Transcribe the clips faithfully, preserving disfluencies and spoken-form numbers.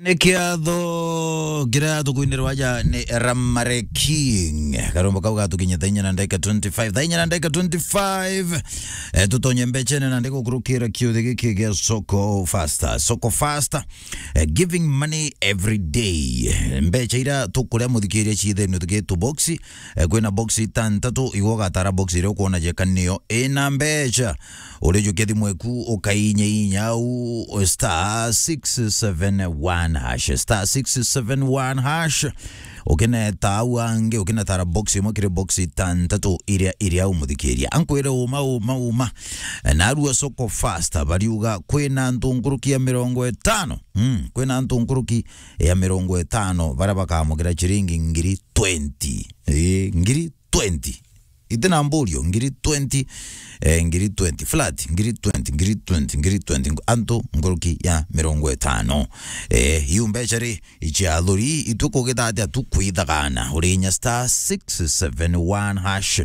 Ni kiatho kiria tukwinirwa aja ni Ramare King. Karombo kau gatukinya thaa inya na ndagika twenty-five. Thaa inya na ndagika twenty-five. Eh, tutonye mbechene na ndiko kurukira kiuthi giki gia Soko Faster. Soko Faster, eh, giving money every day. Mbecha ira tukuria muthikiria ciithenu tugitu boxi. Eh, kwina boxi itantatu, igwe ugatara boxi iria ukwona jeka niyo ina mbecha. Urijukia thimu eku ukainya inya au star six seven one hash, star six seven one hash. Ukineta au angi, ukinetara box imwe kiri box itantatu iria, iria umuthikiria. Ankwire uma, uma, uma. Narua Soko Faster, bariuga kwina antu nkuruki ya mirongo itano. Mm, kwina antu nkuruki ya mirongo itano baria bakamukira ciringi ngiri twenty. Ii, ngiri twenty. Iti na mburio, ngiri twenty, eh, ngiri twenty, flat, ngiri twenty, ngiri twenty, ngiri twenty, antu nkuruki ya mirongo itano. Eh, iu mbecha ri, icia athuri, itwe kugita atia tu kwithagana, urinya star six seven one hash.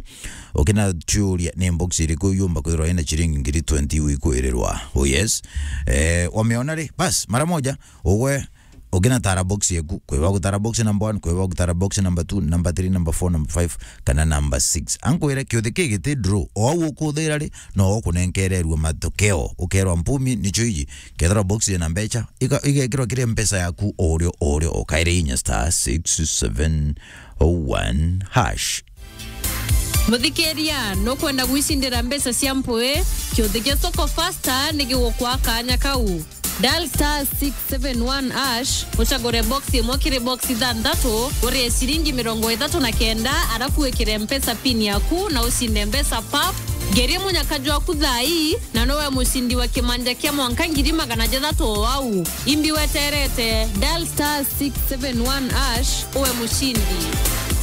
Ukina churia ni box iriku yumba kwithirwa ina ciringi ngiri twenty iu ikwirirwa. Oh yes. Eh, wameona ri, bas, mara moja, ugwe, ukinatara box yeku, kwiba gutara box number one, kwiba gutara box number two, number three, number four, number five, kana number six. Ankwire kiuthi ki giti draw, o au ukuthira ri, no ukunenkererua matokeo, ukerwa mpumi nicio iji, kethirwa box ina mbecha, iga-, igekirwa kiri mpesa yaku o urio, o urio, ukaire inya star six seven one hash. Muthikiria, nukwenda gwicindira mbeca cia mpui? Kiuthi gia Soko Faster ni gigukwa kanya kau. Dial star six seven one hash, ucagure box imwe kiri box ithanthatu, urie ciringi mirongo ithatu na kenda, arafu wikire mpesa pin yaku na ucinde mbeca pap. Ngerie munyaka jwaku thaa ii, na nowe mucindi wa kimanja kia mwanka ngiri magana jathatu o au. Imbi weterete, dial star six seven one hash, uwe mucindi.